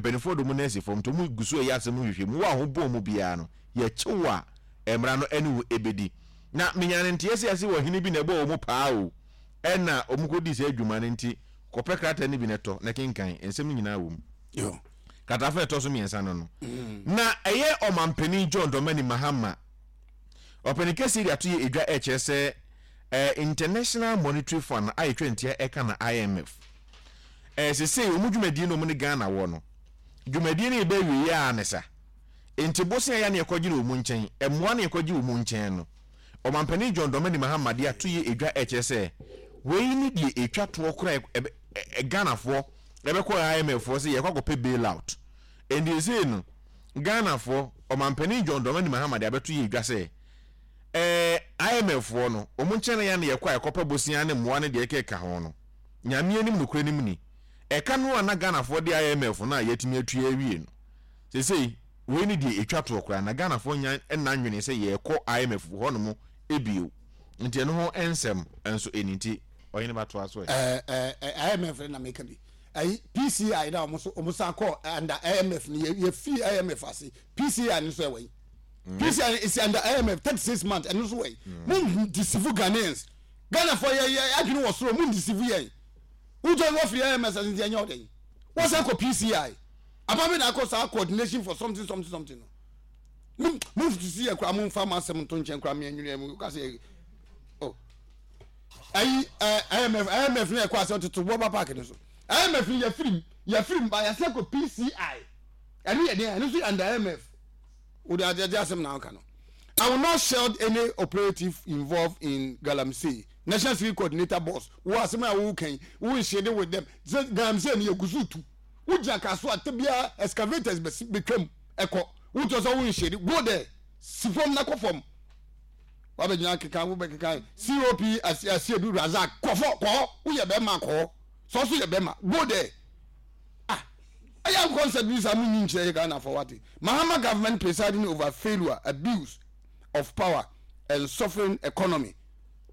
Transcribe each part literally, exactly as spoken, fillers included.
Mpanimfoɔ de ɔmo nan si fam nti ɔmo gu so ɛyɛ asɛm hwehwɛ mu. Wo a ho bɔn mu biara no, yɛkyew a mmara no ɛne wo ɛbɛdi. Na menya ne nteɛ sɛ ase wɔ hene bi na ɛbɔ ɔmo paa o, ɛna ɔmo kɔdi sɛ adwuma no, nti kɔpɛ krataa no bi na ɛtɔ na kenkan nsɛm no nyinaa wɔ mu. Yo. Krataafo a ɛtɔ so mmiɛnsa no no na ɛyɛ Ɔmampanin John Dramani Mahama, ɔpanin kɛseɛ de ato yɛ edwa, ɛkyerɛ sɛ ɛɛ International Monetary Fund a yɛtwa ntia ɛka na I M F, ɛɛ sesei wɔn dwumadie no, wɔn ne Ghana wɔ no dwumadie no yɛbɛ awie yɛ a ne sa nti bosia yɛ ne yɛkɔgye no wɔn nkyɛn, mmoa ne yɛkɔgye wɔn nkyɛn no, Ɔmampanin John Dramani Mahama de ato yɛ edwa, ɛkyerɛ sɛ wei ne deɛ etwa toɔ koraa ɛbɛ ɛ Ghanafoɔ ɛbɛkɔ I M F foɔ sɛ yɛkɔ akɔpɛ bailout. Nti esei no Ghanafoɔ, Ɔmampanin John Dramani Mahama de abɛto yɛ edwa sɛ ɛɛ I M F foɔ no, wɔn nkyɛn na yɛn na yɛkɔ a yɛkɔpɛ bosia ne mmoa ne deɛ ɛkeka ho no. Nyame anim nokura nim ni, ɛka no a na Ghanafoɔ de I M F no a yɛatumi atua awie no, sesei wei ne deɛ etwa toɔ koraa na Ghanafoɔ nya ɛna nwene sɛ yɛkɔ I M F hɔnom ebio. Nti ɛno ho nsɛm nso ɛni, nti ɔhene ba toa so ɛ. ɛɛ ɛɛ I M F na meka bi, ɛyi P C I na ɔmo so ɔmo san kɔ under I M F no. yɛ yɛ fi I M F ase, P C I no nso ɛwɔ yi. P C I is under I M F thirty six months, ɛno nso wɔ yi. Mo deceive Ghanaians, Ghana fo yɛ yɛ adwene wɔ soro, mo deceive yɛn. Wotɔ wɔ firi I M F ase nti ɛnyɛ ɔdɛ yi wɔsan kɔ P C I abami na akɔ saa coordination for something something something no. Mo mo sisi yɛ kora, mo nfa mo asɛm nto nkyɛn kora, mi ɛnwene mu kasi yɛ oh ayi ɛ I M F I M F ne ɛkɔ ase ɔtoto bɔba park ne so. I M F yɛ firim yɛ firim ba yɛsɛ kɔ P C I, ɛno yɛ deɛ ɛno nso yɛ under I M F. O de adi asɛm na ɔka no. "I will not shield any operative involved in galamsey," National Security Coordinator boss. Wo asɛm a wo kan wo nhyɛ with them sɛ galamsey ni yɛ gusu tu wo gyina kaso a tebia excavators bɛsi betwam ɛkɔ wotɔ sɛ wo nhyɛ. Go there, si fam na kɔ fam wabɛgyina keka wo bɛkeka. C O P Asiedu Razak, kɔfɔ kɔɔ, woyɛ bɛrima kɔɔ, sɛ ɔso yɛ bɛrima, go there. Ah, ɛyɛ concept bi saa mu nyi nkyerɛ yɛ Ghana for what? Mahama government presiding over failure, abuse of power and suffering economy.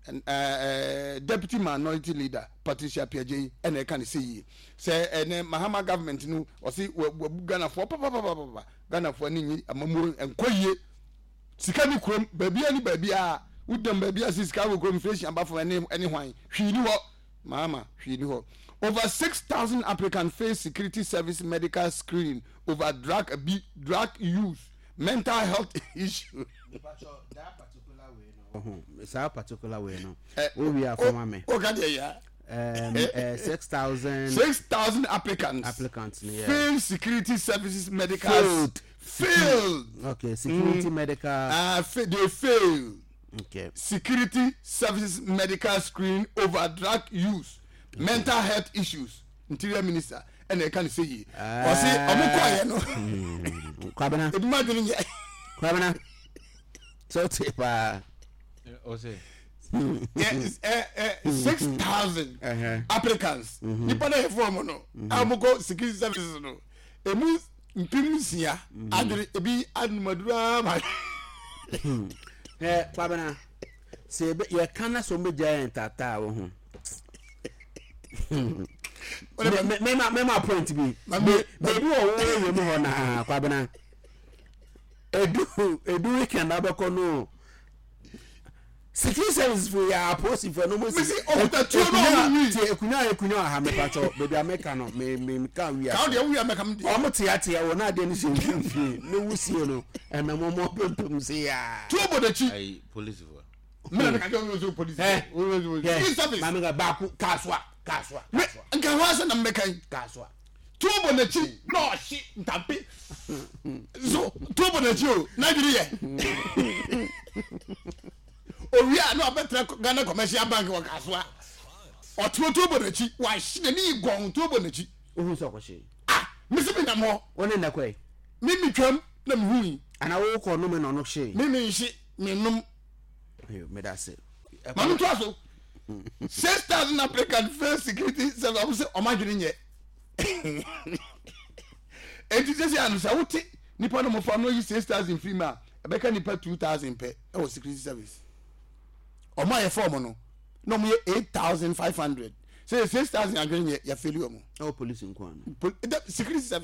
And, uh, uh, Deputy Minority Leader Patricia Appiagyei ɛna ɛka ne sɛ yie sɛ ɛnɛ Mahama government no ɔsi wɔ wɔ Ghanafoɔ papapapapa, Ghanafoɔ ani nyi amamuo nkɔ yie, sika ni kurom baabi ani baabi a wodam baabi a si sika wɔ kurom, inflation aba fam, ɛne ɛne hwan hwii ni hɔ. Mahama hwii ni hɔ. Over six thousand applicants face security service medical screening over drug abi drug use, mental health issue. Saa particular way no Eh, wo wi afɔma me. O ka deɛ ya. um, uh, six thousand six thousand applicants applicants ni, yeah. Failed security services medical Failed. Failed. Okay, security Mm. medical. uh, fa they failed okay security services medical screening over drug use, mental health issues. Interior Minister ɛna ɛka ne sɛ yie ɔsi ɔmo kɔɔyɛ no Kwabena. Ebi ma dwene nyɛ. Kwabena, sɛ wote paa. Ɔsɛ six thousand applicants nipa na yɛ fɔm no a ɔmo kɔ security services no, emu mpem nsia adwene ebi anumaduro ama. Ɛ Kwabena, sɛ yɛbɛ- yɛka na sɛ ɔmbɛgya yɛn taataa wɔ ho. Me- me- mema mema point bi. Be- baabi wɔ wo area mu hɔ naa, Kwabena, edu edu weekend abɛkɔ no, security service fo yɛ apolisifoɔ no mo si Mesi, ɔkuta tuo na ɔmo wi. Tie, ekunya ekunya wɔ ha, mepatwɔ baabi a meka no, me me meka wi Kaw deɛ wuya mɛka mi deɛ. Ɔmo teatea wɔ n'adeɛ no hyɛ mfimfini ne wusie no ɛnam ɔmo apempem se yaa. Tuo bɔ n'akyi. Ayi polisifoɔ. Mena meka kyerɛ wo sɛ police Ɛ security service. Maame ka baako kaasoa kaasoa. Me nka ho asɛ na mmɛka yi. Kaasoa. Tuo bɔ n'akyi na ɔhye ntampe so, tuo bɔ n'akyi o, n'adwene yɛ owia na ɔbɛtena Ghana Commercial Bank wɔ Kasoa, ɔtuo tuo bɔ n'akyi, wahye n'ani yi gɔn, tuo bɔ n'akyi. Ohun sɛ ɔkɔhye. Ah, mesi mi nam hɔ. Wɔn ne nnakɔ yi. Mi mi twam na mi hu yi. Ana wo kɔ nome na ɔno hye? Mi mi nhye, mi nom. Ayo, meda ase. Maame to aso, six thousand applicant fail security service, ɔmo sɛ ɔmo adwene nyɛ eti sisi ano sɛ wote nipa no mo fa no yi six thousand firi mu a, ɛbɛka nipa two thousand pɛ ɛwɔ security service. Ɔmo a yɛfɛ ɔmo no na ɔmo yɛ eight thousand five hundred, sɛ six thousand adwene nyɛ, yɛ fail ɔmo. Ɛwɔ police nko ano? Pol security service.